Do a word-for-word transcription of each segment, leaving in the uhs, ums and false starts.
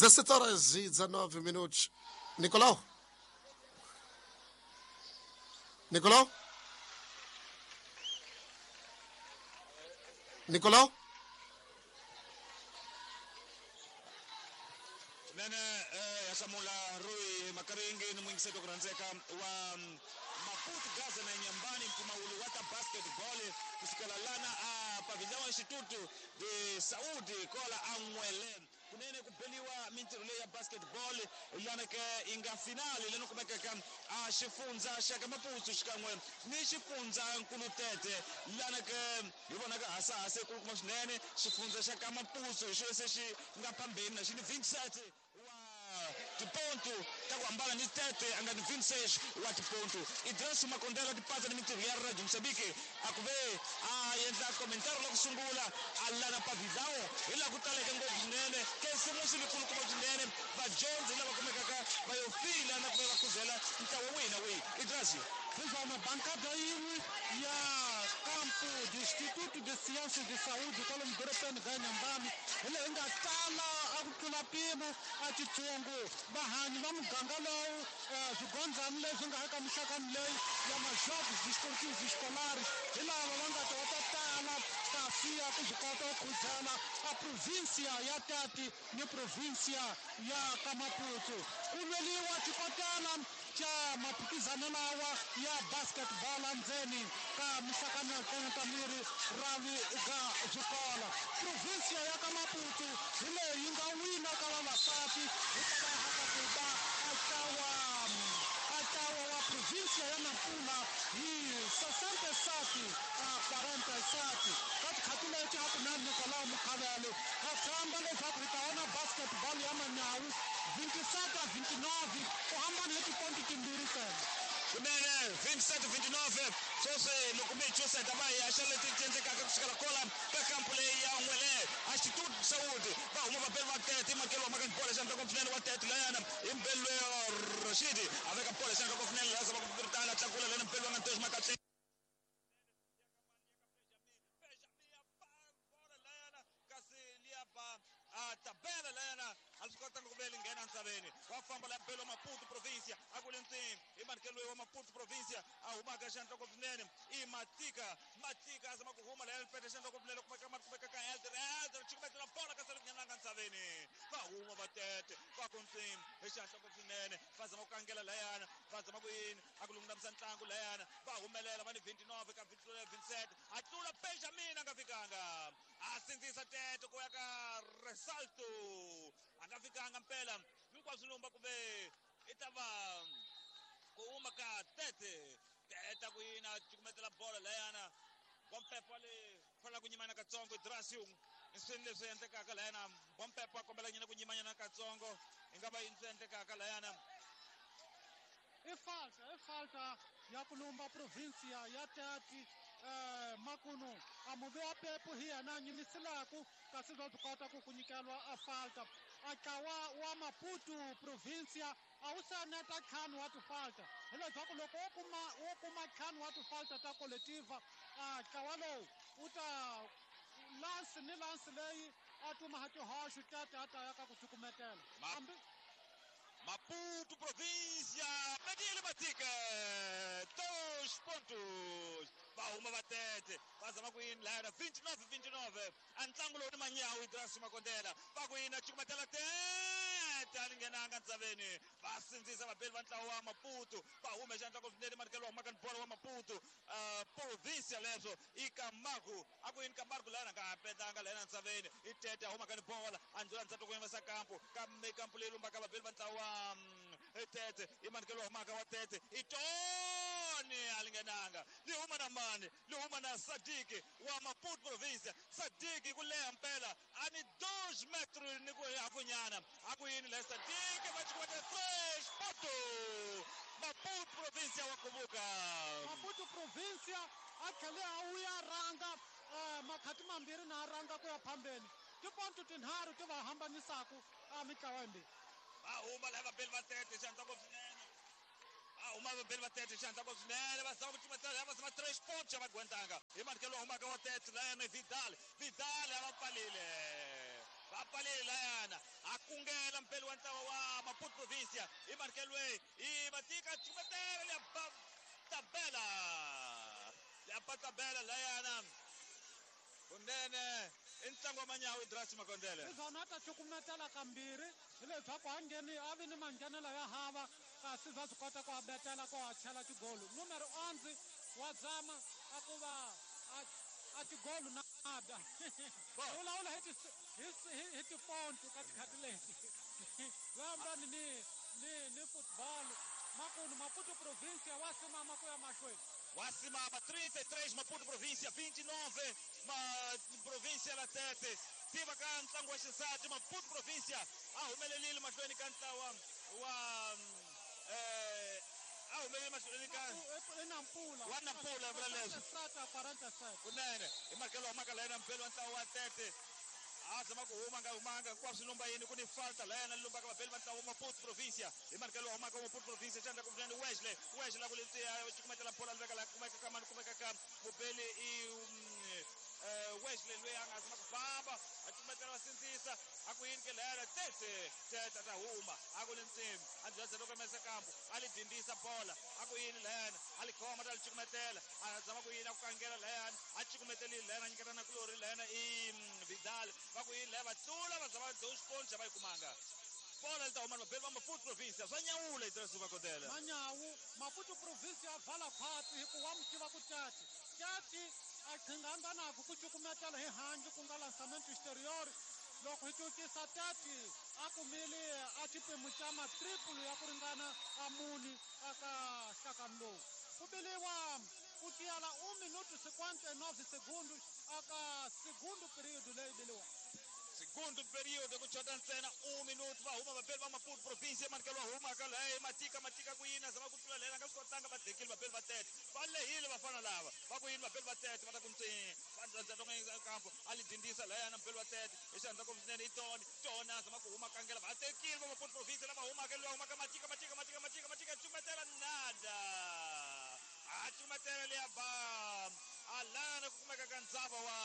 dezassete horas e dezanove minutos. Nicolau? Nicolau? Nicolau? Nene eh, Samula Rui Makaringi ni mwingiseto kuranzeka wa Maputo Gaza na Nyambani mpumawulu wata basketball kusikala lana a pavilhão Instituto de Saúde kola anwele kunene kubeliwa mintirho leyi ya basketball lana ke inga finali leno kumekeka a xifundza xa ka Maputo xikan'we ni xifundza Nkulutete lana ke hi vonaka hasahasa kulukumba swinene xifundza xa ka Maputo hi xo se xi nga phambeni na xi ni Vincent tiponto ta ku hambana ni Tete a nga ni vinte e seis wa tiponto Idris Makondela tipatsa ni mintirho ya Radio Moçambique a ku ve a endla komentari la ku sungula a lana pavilhão hi laha ku taleke ngopfu swinene kesimusi likulukumba swinene vadyondzi lava kumekaka va yo fila na ku va va khuzela ntlawa wihi na wihi Idris. Sizama bancada yin'we ya campo de Instituto de Ciências de Saúde kwalomu dorobeni ra Nyambani hi leyi nga tala a ku tlula mpimo a titsongo vahanyi va muganga lowu swigondzani leswi nga eka mixakani leyi ya majogos desportivos escolares hi lava va nga ta va ta tala kasi ya ku swi kota ku khuzela a província ya Tete ni província ya ka Maputo ku lweliwa xikotela xa maphikizano lawa ya basketball endzeni ka mixakani ya ta miri ravi ga swikolo província ya ka Maputo hi leyi yi nga wina ka vavasati hikwalaho ka ku ba a ntlawa a ntlawa wa província ya Nampula hi sessenta e sete a quarenta e sete ka tikhathi leti a ku na Nicolau Mukhavele ha tshemba leswaku hi ta vona basketball ya manyawu vinte e sete a vinte e nove ku hambana hi tiponti timbirhi ntsena. Kunene vinte e sete vinte e nove sweswi loko mi hi chusa va hi haxa leti ti endlekaka kusukela kola ka kampu leyi ya N'wele a Instituto de Saúde va huma vabeli va Tete makelo wa maka bola xandla ko swinene wa Tete layana hi mbelu Rashidi a veka bola xandla ko swinene laha zama ku piritana tlakula lena mbelu wa nga ntoxi makahle tabela layana a swi kotanga ku vele nghena ntsaveni wa famba la mbelo Maputo província a ku le ntsini i manikelo wa Maputo província a humaka xandla ko swinene i Matika Matika a zama ku huma layana pete xandla ko swinene kumeka kumeka ka Elder Elder chikumetela bola ka sale nghenanga ntsaveni va huma va Tete va ku ntsini hi xandla ko swinene va zama ku kangela layana va zama ku yini a ku lungamisa ntlangu layana va humelela va ni vinte e nove ka vinte e sete a tlula Benjamin a nga fikanga a sindzisa Tete ku ya ka Resalto a nga fikanga mpela hinkwaswo lumba ku ve i ta va ku huma ka Tete Tete ku yina cukumetela bola layana Bompepo le fanela ku nyimana katsongo Drasium i swini leswi endlekaka layana Bompepo a kombela nyina ku nyimanyana katsongo i nga va yini swi endlekaka layana i falta i falta ya ku lumba província ya Tete eh, makunu a muvi wa pepu hi yena a nyimisilaku kasi bya byi kota ku ku nyikeliwa a falta a ntlawa wa Maputo província a wu se neta ntlhanu wa tifalta hileswaku loko wo kuma wo kuma ntlhanu wa tifalta ta coletiva a ntlawa lowu wu ta lansi ni lansi leyi a tuma tihoxo Tete a ta ya ka ku cukumetela hambi Maputo província Medile Matika dois pontos va huma va Tete va zama ku yini layana vinte e nove vinte e nove a ntlangu lowu ni manyawu Idris Makondela va ku yini a cukumetela Tete a li nghenanga ntsaveni va sindzisa vabeli va ntlawa wa Maputo va hume xandla ko swinene manikelo wa humaka ni bola wa Maputo uh, província leswo i Camargo a ku yini Camargo layana nga petanga layana ntsaveni i Tete a humaka ni bola a ndlula ntsati ku yimisa kampu kambe kampu leyi lumbaka vabeli va ntlawa wa Tete i manikelo wa humaka wa Tete i Tony a li nghenanga li huma na mani li huma na Sadiki wa Maputo província Sadiki ku leha mpela a ni dois metros ni ku hafunyana a ku yini la Sadiki va cukumeta fresh poto Maputo província wa kuvuka Maputo província a tlhele a wuya rhanga eh, makhati mambirhi na a rhanga ku ya phambeni tiponto tinharhu ti va hambanisaku a mitlawa yimbirhi va huma laha vabeli va Tete xandla ko swinene va huma vabeli va Tete xandla ko swinene va zama ku cukumetela va zama tres pontos va gwentanga hi manikelo wa humaka wa Tete layana Vidal Vidal a va pfalile va pfalile layana a kungela mpeli wa ntlawa wa Maputo Provincia i Markelwe i Matika chumetela ya tabela ya tabela layana kunene i ntlangu wa manyawu Idrasi Makondele izona a ta cukumetela kambirhi hileswaku a ngheni a vi ni manghenelo ya hava kasi bya swi kota ku a betela ku a chela tigolu numero onze wa zama a ku va a tigolu nada vulavula hi hi tiponto ka tikhati leti vambani ni ni ni football makunu Maputo Província wa simama ku ya mahlweni. Wasimama trinta e três Maputo Província vinte e nove ma Província la Tete tiva ka ntlangu wa xisati Maputo Província a humelelile mahlweni ka ntlawa wa eh a humelele mahlweni ka Nampula wa Nampula vula leswi kunene hi makelo wa maka layena mpelo wa ntlawa wa Tete a zama ku huma nga humanga hinkwaswo lumba yini ku ni falta layena lumbaka vabeli va ntlawa wa Maputo Província hi markelo wa humaka wa Maputo Província xandla ku vunene Wesley Wesley la ku lentsiya cukumetela bola li veka la kumeka ka mani kumeka ka mubeli i Wesley loyi a nga zama ku famba a cukumetela va sindzisa a ku yini ke layena Tete Tete a ta huma a ku lentsimi a byadza loko mesa kambu a li dindisa bola a ku yini layena a li khoma ta li cukumetela a zama ku yini a ku kangela layena a cukumetelile layena a nyiketa na kulori layena i Vidal va ku yini laya va tlula va za va dois pontos va yi kumanga bola li ta huma vabeli va Maputo Província swa nyawula Idrasi Makondele manyawu Maputo Província a vala khwatsi hikuva wa mi tiva ku Tati Tati a qhinganga naku ku cukumetela hi handle ku nga lançamento exterior loko hi cukisa Tati a kumile a xiphemu xa matriple ya ku ringana a muni aka nhlakano lowu ku biliwa ku tiyela un minuto cinquenta e nove segundos aka segundo período leyi biliwa segundo período ku chota ntsena un minuto va huma vabeli va Maputo Província manikelo wa huma ka leyi Matika Matika ku yini a zama ku tlula lena nga swi kotanga va dekile vabeli va Tete va lehile vafana lava va ku yini vabeli va Tete va ta ku ntsini va kampo a li dindisa layana mubeli wa Tete hi xandla ku swinene i Tony Tony a zama ku huma kangela va tekile va Maputo Província lava humaka loyi humaka Matika Matika Matika Matika Matika cukumetela nada a cukumetela leya ba alana ku kumeka ka ndzava wa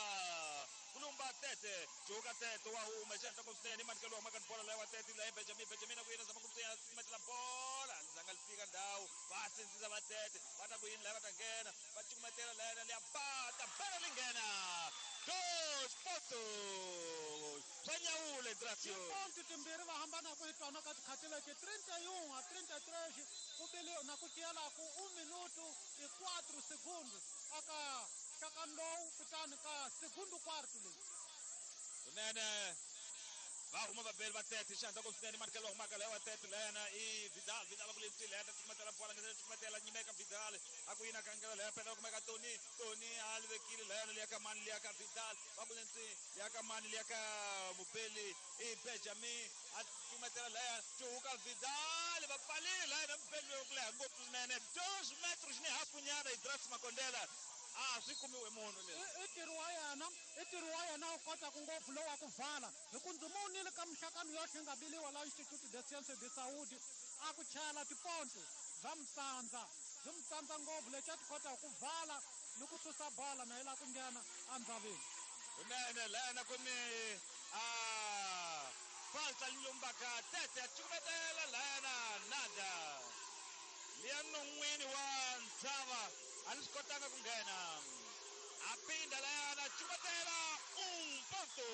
kulumba Tete juka Tete wa huma xandla ku swinene manikelo wa humaka bola leya wa Tete leya Benjamin Benjamin ku yini zama ku ntsina cukumetela bola zanga li fika ndhawu va sindzisa va Tete va ta ku yini laya va ta nghena va cukumetela layena leya ba ta bela li nghena dos pontos swa nyawula Idrasio tiponto timbirhi va hambanaka hi tona ka tikhati leti trinta e um a trinta e três ku bili na ku tiyelaku un minuto e quatro segundos aka nhlakano lowu kutani ka segundo quarto leyi kunene va huma vabeli va Tete xandla ku swinene manikelo wa humaka leya wa Tete layena i Vidal Vidal ku lentsini leya ta cukumetela bola nge cukumetela nyimeka Vidal a ku yini kangela leya pela kumeka Tony Tony a li vekile layena liya ka mani liya ka Vidal va ku lentsini liya ka mani liya ka mubeli i Benjamin a cukumetela leya cuhuka Vidal va pfalile layena mubeli loyi ku leha ngopfu swinene dos metros ni hafu nyana Idrasi Makondela a swi kumiwe munhu leswi i ntirho wa yena i ntirho wa yena wu kotaka ngopfu lowu wa ku vala hi ku ndzi vonile ka minhlangano yohle nga biliwa la Instituto de Sciência de Saúde a ku chela tiponto bya mitsandza byi mitsandza ngopfu lexi a ti kotaka ku vala ni ku susa bola na yi lava ku nghena endzaveni kunene layena ku ni a falta lumbaka Tete a cukumetela layena nada liya non'wini wa ndzava a ni swi kotanga ku nghena a pinda layana cukumetela un ponto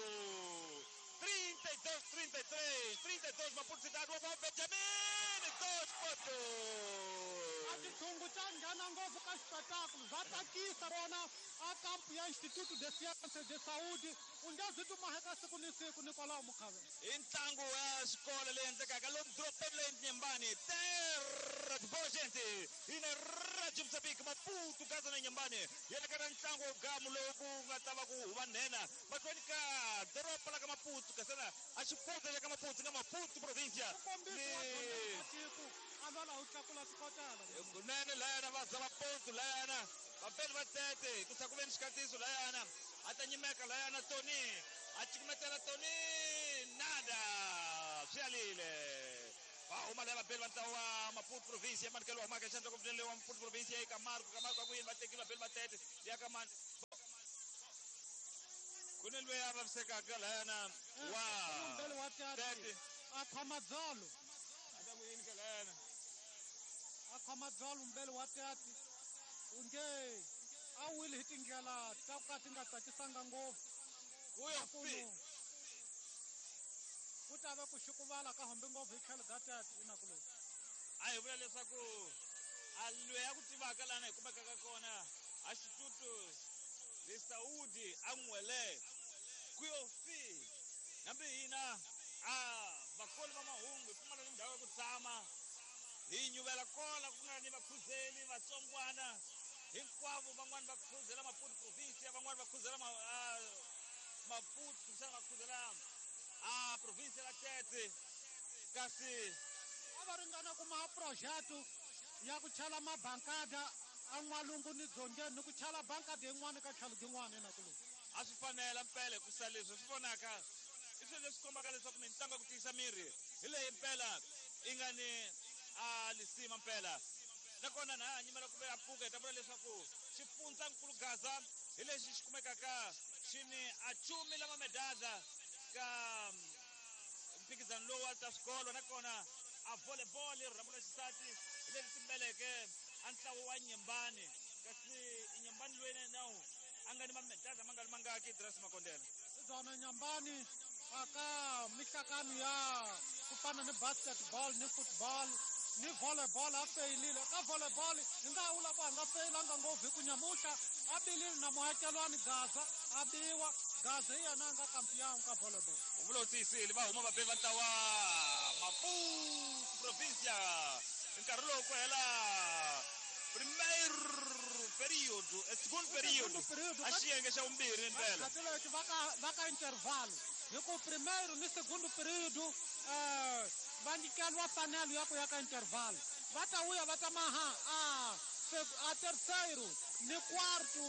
trinta e dois trinta e três trinta e dois Maputo Cidade wa Benjamin dois pontos a xitshungu xa nghena ngopfu ka xipetakulo bya tsakisa vona a kampu ya Instituto de Ciência de Saúde u nge zi tumaheka siku ni siku Nicolau Mukhavela i ntlangu wa xikolo leyi endlekaka lomu dorobeni leyi Nyembani terra de boa gente ina Radio Moçambique Maputo Gaza na Nyembani yeleka na ntlangu wa gamu lowu ku nga ta va ku huva nhenha mahlweni ka doroba la ka Maputo kasana a xifundza xa ka Maputo nga Maputo Província ni tiko a lwela u tlakula swikotela kunene layana va za va ponto layana vabeli va Tete ku sa ku ve ni xikatiso layana a ta nyimeka layana Tony a cukumetela Tony nada swi alile va huma laya vabeli va ntlawa wa Maputo Província manikelo wa humaka xandla ku vunene wa Maputo Província eka Marco ka Marco a ku yini va tekile vabeli va Tete liya ka mani ku ni loyi a vavisekaka layana wa mbeli wa Tete Tete A khoma dzolo. A ta ku yini kalena? A khoma dzolo mbele wa tati. U nge a wile hi tindlela ta ku ka ti nga tsakisanga ngopfu. Kuyo fi. Ku ta va ku xukuvala ka hombe ngopfu hi tlhelo ka tati inakuloni. A hi vula leswaku a loyi a ku tivaka lana hi kumekaka kona a Instituto de Saúde a N'wele kuyo fi. Hambi hina a vakoli va mahungu hi pfumala ni ndhawu ya ku tshama hi nyuvela kola ku nga ni vakhuzeli vatsongwana hinkwavo van'wani va khuzela Maputo province van'wani va khuzela Maputo kumbexana va khuzela a province la Tete kasi a va ringana kuma projeto ya ku chala mabankada a n'walungu ni dzongeni ni ku chala bankada yin'wana ka tlhelo yin'wana enakuloni. A swi fanela mpela hikusa leswi swi vonaka i swilo leswi kombaka leswaku mitlangu ya ku tiyisa miri hi leyi mpela yi nga ni a lisima mpela. Nakona na ha nyimela ku ve a pfuka hi ta vula leswaku xifundzankulu Gaza hi lexi xi kumekaka xi ni a chumi lama medada ka mphikizano lowu wa ta swikolo. Nakona a volleyball rhambu ra xisati hi leri timbeleke a ntlawa wa Nyembani kasi i Nyembani loyi na nawu a nga ni mamedada ma nga ri mangaki Idris Makondela. Byona Nyembani aka mihlakano ya ku fana ni basketball ni football ni volleyball a feyilile. Ka volleyball hi nga vula ku a nga feyilanga ngopfu hi ku nyamuhla a bilile na muakelwani Gaza a biwa Gaza hi yena a nga kampiyangu ka volleyball. U vula u tiyisile va huma vabevi va ntlawa Maputo provincia nkarhi lowu ku hela primeiro período, segundo período a xiyenge xa vumbirhi mpela. Leti va ka va ka intervalo hi ku primeiro ni segundo período eh va nyikeliwa fanelo ya ku ya ka intervalo va ta vuya va ta maha a a terceiro ni quarto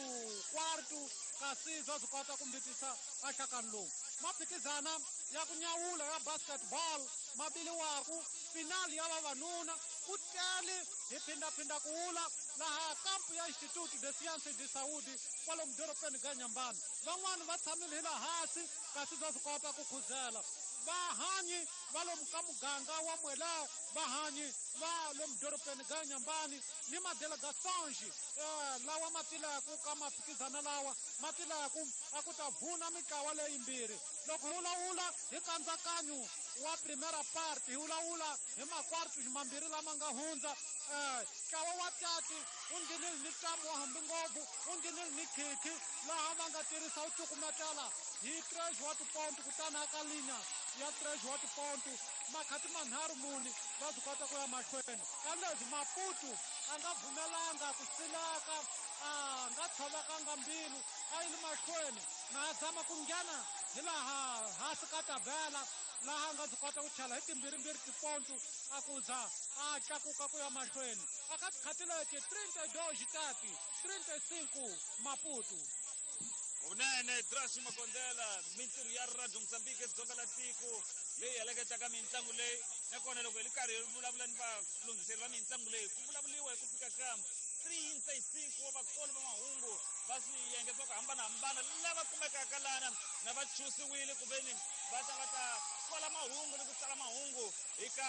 quarto kasi bya swi kota ku mbitisa a nhlakano lowu. Maphikizana ya ku nyawula ya basketball ma biliwaku finali ya vavanuna ku tele hi phindaphinda ku wula laha kampu ya Instituto de Sciences de Saúde kwalomu dorobeni ka Nyambani. Van'wani va tshamile hi laha hansi kasi bya swi kota ku khuzela. Vahanyi va lomu ka muganga wa Mwela, vahanyi va lomu dorobeni ka Nyambani ni madelegations eh, lawa ma tilaku ka maphikizana lawa ma tilaku a ku ta vuna mitlawa leyimbirhi. Loko hi vulavula hi nkatsakanyo wa primera parte hi vulavula hi makwartu mambirhi lama nga hundza eh, ntlawa wa tati u nghenile ni ntamu wa hambi ngopfu u nghenile ni khikhi laha va nga tirhisa u cukumetela hi tres wa tiponto kutani aka linya ya tres wa tiponto makhati manharhu muni va swi kota ku ya mahlweni. Kambe leswi Maputo a nga pfumelanga ku silaka a nga tshovekanga mbilu a yi le mahlweni na a zama ku nghena hi laha hansi ka tabela laha a nga swi kota ku chela hi timbirhimbirhi tiponto a ku za a tlakuka ku ya mahlweni. Aka tikhati leti trinta e dois tati trinta e cinco Maputo. Kunene Idris Makondela mintirho ya Radio Mozambique Dzonga la tiko leyi heleketaka mitlangu leyi. Nakona loko hi ri karhi hi vulavula ni valunghiseri va mitlangu leyi ku vulavuriwa hi ku fika ka trinta e cinco wa vakoli va mahungu va swiyenge swa ku hambanahambana lava kumekaka lana na va chusiwile ku veni va ta va ta kola mahungu ni ku tsala mahungu eka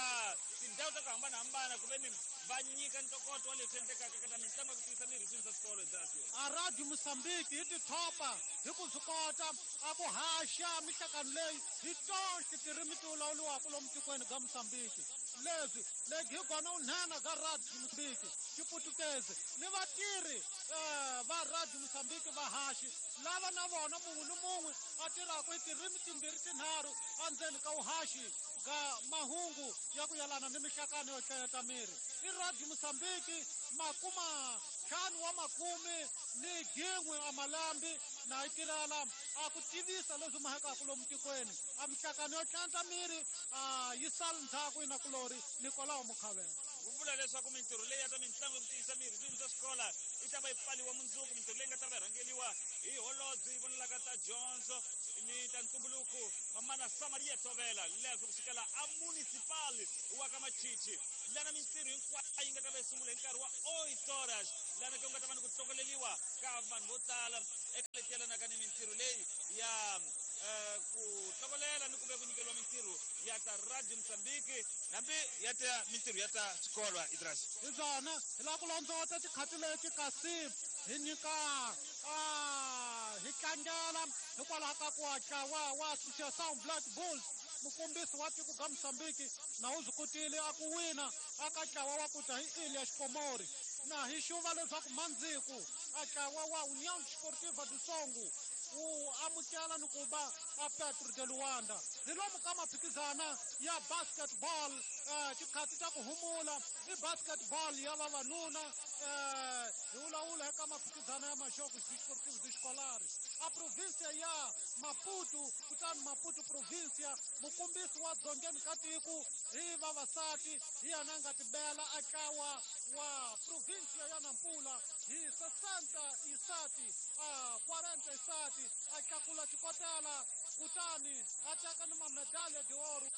tindhawu ta ku hambanahambana ku veni va nyika ntokoto wa leswi endlekaka ka ta mitlangu ya ku tiyisa miri hi swilo swa swikolo hi Idris. A Radio Mozambique hi tithopa hi ku swi kota a ku haxa mihlakano leyi hi tonke tirimi ti vulavuriwaka lomu tikweni ka Mozambique. Leswi legi hi kona u nhenha ka Radio Mozambique xiputukezi ni vatirhi eh, va Radio Mozambique vahaxi lava na vona mun'we ni mun'we a tirhaka hi tirimi timbirhi tinharhu endzeni ka vuhaxi ka mahungu ya ku yelana ni mihlakano yo hlayeta miri. I Radio Mozambique makuma ntlhanu wa makume ni gin'we a malambi na yi tirhela a ku tivisa leswi mahekaka lomu tikweni. A mihlakano yo tlanta miri a yi sali ndzhaku inakulori Nikolao Mukhavela. Ku vula leswaku mintirho leyi ya ta mitlangu ya ku tiyisa miri swilo swa xikola yi ta va yi pfaliwa mundzuku. Mintirho leyi nga ta va yi rhangeriwa hi holobye yi vonelaka ta dyondzo ni ta ntumbuluko Mamana Samaria Tovela leswi ku sukela a municipal wa ka Machichi lana mintirho hinkwayo yi nga ta va yi sungula hi nkarhi wa oito horas lana ku nga ta va ni ku tlokoleriwa ka vanhu vo tala eka leti yelanaka ni mintirho leyi ya ku tlokolela ni ku ve ku nyikeriwa mintirho ya ta Radio Mozambique hambi ya ta mintirho ya ta xikolo Idris. Hi byona hi lava ku londzota tikhati leti kasi hi nyika hi tlangela hikwalaho ka ku hatla wa wa Associação Black Bulls mukombisi wa tiko ga Mozambique na u swi kotile a ku wina aka ntlawa wa ku ta hi Ilha Xikomori na hi xuva leswaku mandziku a ntlawa wa União Desportiva do Songo wu amukela ni ku va a Petro de Luanda. Hi lomu ka maphikizana ya basketball tikhathi ta ku humula i basketball ya vavanuna hi vulavula eka maphikizana ya Majogos Desportivos Escolares a província ya Maputo kutani Maputo província mukombisi wa dzongeni ka tiko hi vavasati hi yena a nga tibela a ntlawa wa província ya Nampula hi sessenta e sete a quarenta e sete a tlakula xikotela kutani a teka ni mamedalha de ouro.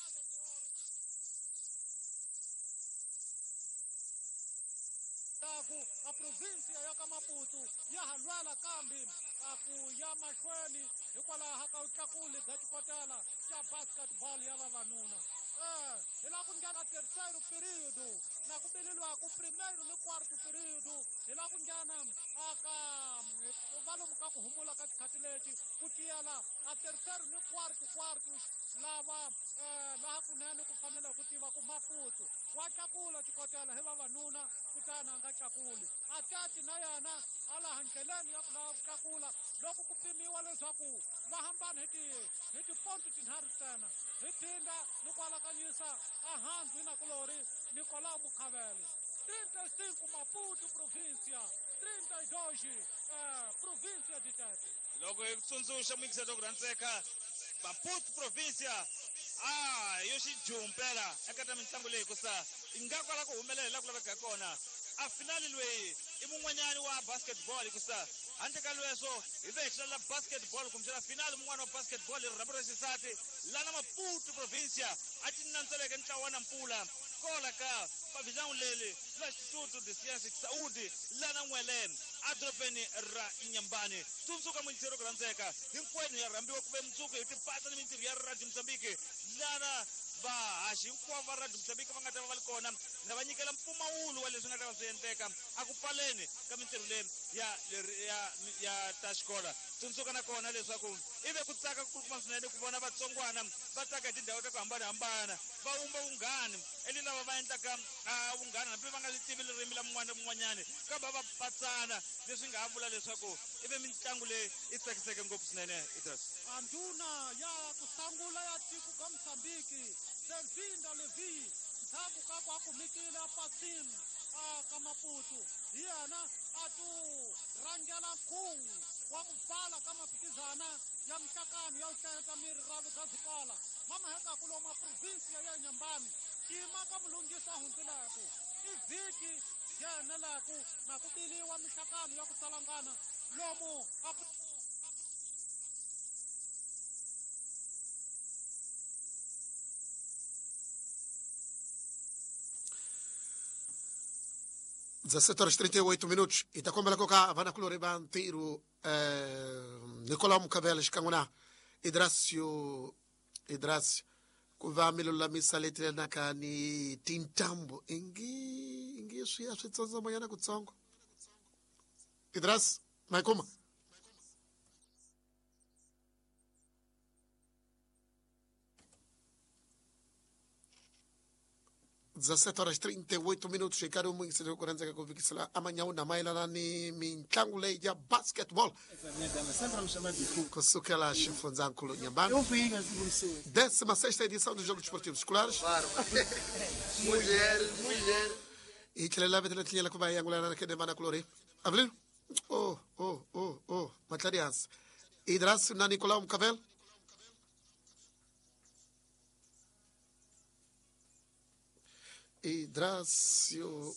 Ku a província ya ka Maputo ya ha lwela kambe a ku ya mahlweni hikwalaho ka vutlakuli bya xikotela xa basketball ya vavanuna. Eh, hi lava ku nghena terceiro período na ku bileliwaku primeiro ni quarto período hi lava ku nghena aka va lomu ka ku humula ka tikhathi leti ku tiyela a terceiro ni quarto quartos lava laha kunene ku fanele ku tiva ku Maputo wa tlakula xikotela hi vavanuna kutani a nga tlakuli a tati na yena a laha ndleleni ya ku lava ku tlakula loko ku pimiwa leswaku va hambana hi ti hi tiponto tinharhu ntsena hi phinda ni ku alakanyisa a handzu nakulori Nicolau Mukhavele. trinta e cinco Maputo província, trinta e dois eh, província de Tete. Loko hi tsundzuxa muyingiseri ku rhandzeka Maputo província a yo xijumpela eka ta mitlangu leyi hikusa yi nga kwala ku humelela laha ku laveka kona. A finali loyi i mun'wanyani wa basketball hikusa handle ka lweswo hi ve hi hlalela basketball kumbexana finali mun'wana wa basketball hi rirhambu ra xisati lana Maputo província a ti nandzeleke ntlawa wa Nampula kola ka pavilhão leli la Instituto de Ciência de Saúde lana N'wele edorobeni ra Inhambane. Tsundzuka muyingiseri ku rhandzeka hinkwenu ya rhambiwa ku ve mundzuku hi tipatsa ni mintirho ya Radio Mozambique lana vahaxi hinkwavo va Radio Mozambique va nga ta va va ri kona na va nyikela mpfumawulo wa leswi nga ta va swi endleka a ku pfaleni ka mintirho leyi ya ya ya ta xikolo. Tsundzuka na kona leswaku i ve ku tsaka ku kuma swinene ku vona vatsongwana va tsaka hi tindhawu ta ku hambanahambana va wumba vunghani eli lava va endlaka vunghana hambi va nga li tivi ririmi la mun'wana na mun'wanyani kambe va patsana leswi nga ha vula leswaku i ve mitlangu leyi i tsakiseke ngopfu swinene Idris. A ndhuna ya ku sungula ya tiko ka Mozambique Delvinda Levi ndzhaku ka ku a kumekile a pasini a ka Maputo hi yena a tu rhangela nkhuvo wa ku pfala ka maphikizana ya mihlakano ya ku hlayeta miri ra ga swikola mamahekaku lomu província ya Inhambane xiyima ka mulunghisi a hundzileku i vhiki yenelaku na ku biliwa mihlakano ya ku tsalangana lomu a dezassete horas e trinta e oito minutos. E tá como ela colocar, vai na coloriba inteiro Nicolau Mukavele xikan'we Idrácio Idrácio ku va mi lulamisa leti lenaka ni tintambo ingi ingi swi ya swi tsondzomanyana kutsongo. Idrácio ma yi kuma dezassete horas e trinta e oito minutos. Ricardo Mungisele ku rhandzeka ku vikisela amanhã na mayelana ni mitlangu leyi ya basketball kusukela xifundzankulu Inhambane, décima sexta edição dos Jogos Esportivos Escolares. Mulher, mulher. E tlhela vetela tlinyela ku va yangulana na kedemana kulori Avelino. Oh, oh, oh, oh, matlarias Idrácio na Nicolau Mukavele. Idrácio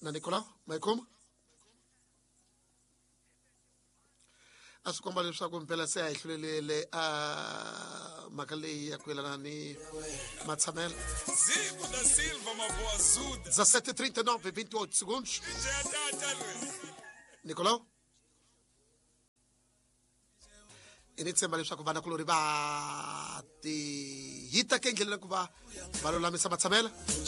na Nicolau, mas como? A swi komba leswaku mpela se a hi hlulelele a mhaka leyi ya ku yelana ni matshamelo. Zico da Silva Mavoazuda. dezassete e trinta e nove, vinte e oito segundos. Nicolau? Ni tshemba leswaku vanakulori va ti hita ke endleleni ku va va lulamisa matshamelo.